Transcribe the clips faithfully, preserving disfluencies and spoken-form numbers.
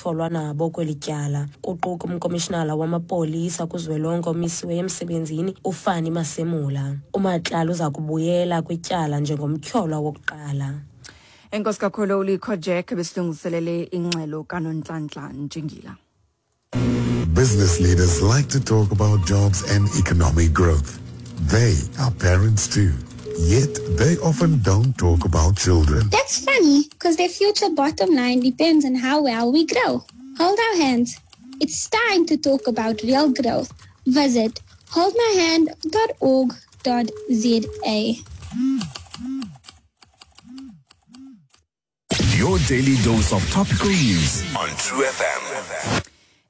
ekutyholwa nabo kweli tyala, kuquka umkomishinala wamapolisa kuzwelonke omisiweyo emsebenzini uFannie Masemola. UMatlala uza kubuyela kwityala njengomtyholwa wokuqala. Enkosi kakhulu uLikho Jack besilungiselele ingxelo kaNonhlanhla Ntshingila. Business leaders like to talk about jobs and economic growth. They are parents too. Yet they often don't talk about children. That's funny, because their future bottom line depends on how well we grow. Hold our hands. It's time to talk about real growth. Visit holdmyhand dot org dot za. Your daily dose of topical news on True F M.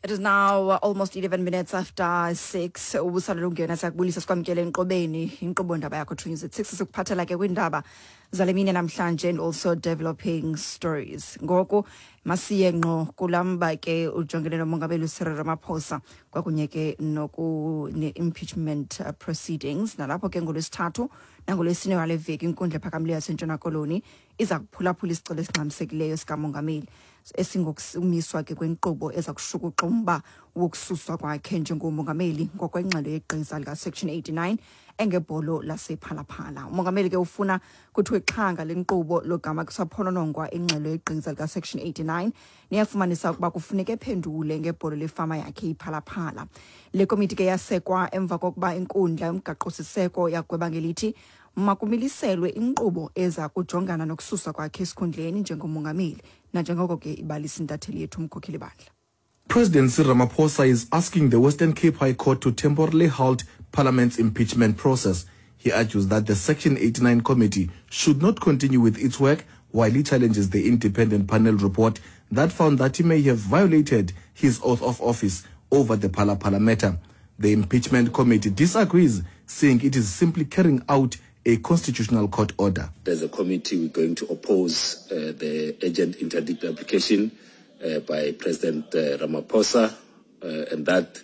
It is now uh, almost eleven minutes after six. Ubusalele ungena, siyakubulisa, sikwamkele enkqubeni inkqubo ndaba yakho True News at six. Sikuphathela ke kwiindaba zale mini namhlanje and also developing stories. Ngoku masiye ngqo kulamba ke ujongene nomongameli uCyril Ramaphosa kwakunye ke noku ne-impeachment uh, proceedings, nalapho ke ngolwesithathu nangolwesine wale veki inkundla ephakamileyo yaseNtshona Koloni iza kuphulaphula isicelo esingxamisekileyo sikamongameli esingokumiswa ke kwenkqubo eza kushukuxa umba wokususwa kwakhe njengomongameli ngokwengxelo yegqiza likaSection eighty-nine engebholo lasePhala Phala. Umongameli ke ufuna kuthiwe xhanga le nkqubo logama kusaphononongwa ingxelo yegqiza likaSection eighty-nine neyafumanisa ukuba kufuneka ephendule ngebholo lefama yakhe iPhala Phala. Le komiti ke yasekwa emva kokuba inkundla yomgaqo-siseko yagweba ngelithi makumiliselwe inkqubo eza kujongana nokususwa kwakhe esikhundleni njengomongameli, nanjengoko ke ibalisa intatheli yethu uMkhokheli Bandla. President Cyril Ramaphosa is asking the Western Cape High Court to temporarily halt Parliament's impeachment process. He argues that the Section eighty-nine committee should not continue with its work while he challenges the independent panel report that found that he may have violated his oath of office over the Phala Phala matter. The impeachment committee disagrees, saying it is simply carrying out a constitutional court order. As a committee, we're going to oppose uh, the urgent interdict application uh, by President uh, Ramaphosa, uh, and that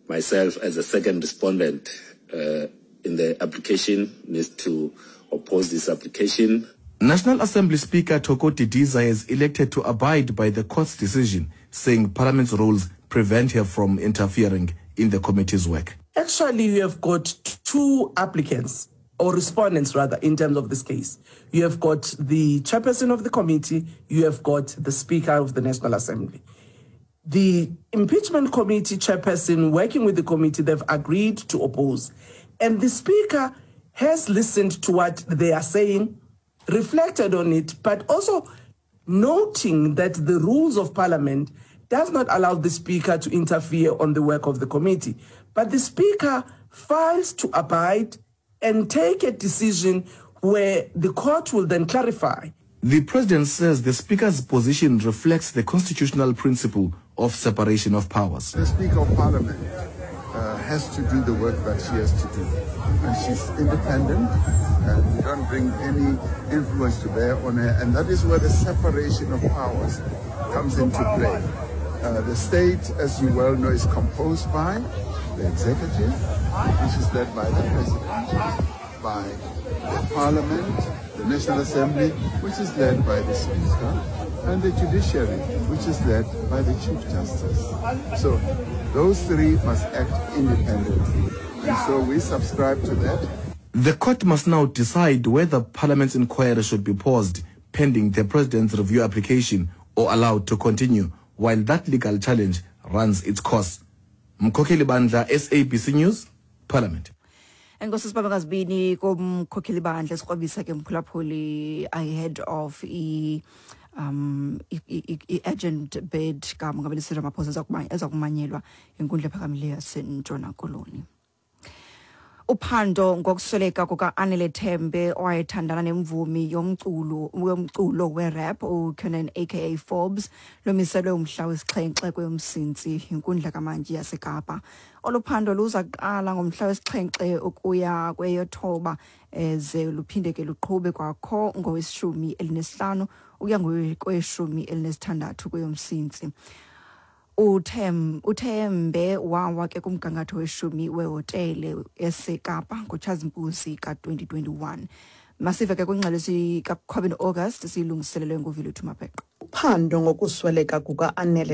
myself as a second respondent uh, in the application needs to oppose this application. National Assembly Speaker Thoko Didiza has elected to abide by the court's decision, saying Parliament's rules prevent her from interfering in the committee's work. Actually, you have got two applicants, or respondents rather, in terms of this case. You have got the chairperson of the committee, you have got the Speaker of the National Assembly. The impeachment committee chairperson, working with the committee, they've agreed to oppose. And the Speaker has listened to what they are saying, reflected on it, but also noting that the rules of Parliament does not allow the Speaker to interfere on the work of the committee. But the Speaker files to abide and take a decision where the court will then clarify. The president says the Speaker's position reflects the constitutional principle of separation of powers. The Speaker of Parliament uh, has to do the work that she has to do. And she's independent, and we don't bring any influence to bear on her. And that is where the separation of powers comes into play. Uh, the state, as you well know, is composed by the executive, which is led by the president, by the Parliament, the National Assembly, which is led by the Speaker, and the judiciary, which is led by the Chief Justice. So those three must act independently. And so we subscribe to that. The court must now decide whether Parliament's inquiry should be paused pending the president's review application or allowed to continue while that legal challenge runs its course. Mkhokheli Bandla, S A B C News, Parliament. Enkosi sibambe ngazibini komkhokheli bandla, sikrobisa ke mphulaphuli ahead of i um i-urgent bid kamongameli Cyril Ramaphosa eza kumanyelwa inkundla ephakamileyo yaseNtshona Koloni. Uphando ngokusweleka kuka-Anele Tembe owayethandana nemvumi yomculo yomculo werap uKiernan A K A Forbes lomiselwe umhla wesixhenxe kweyoMsintsi inkundla kamantyi yaseKapa. Olu phando luza kuqala ngomhla wesixhenxe ukuya kweyothoba, ze luphinde ke luqhube kwakho ngoweshumi elinesihlanu ukuya kweshumi elinesithandathu kweyoMsintsi. Uthem uThembe wawa ke kumgangatho weshumi wehotele eseKapa ngoTshazimpuzi ka-twenty twenty-one. Masive ke kwingxelo sikaQuabin August siyilungiselelwe nguViluthu Mabheqo. Uphando ngokusweleka kuka-Anele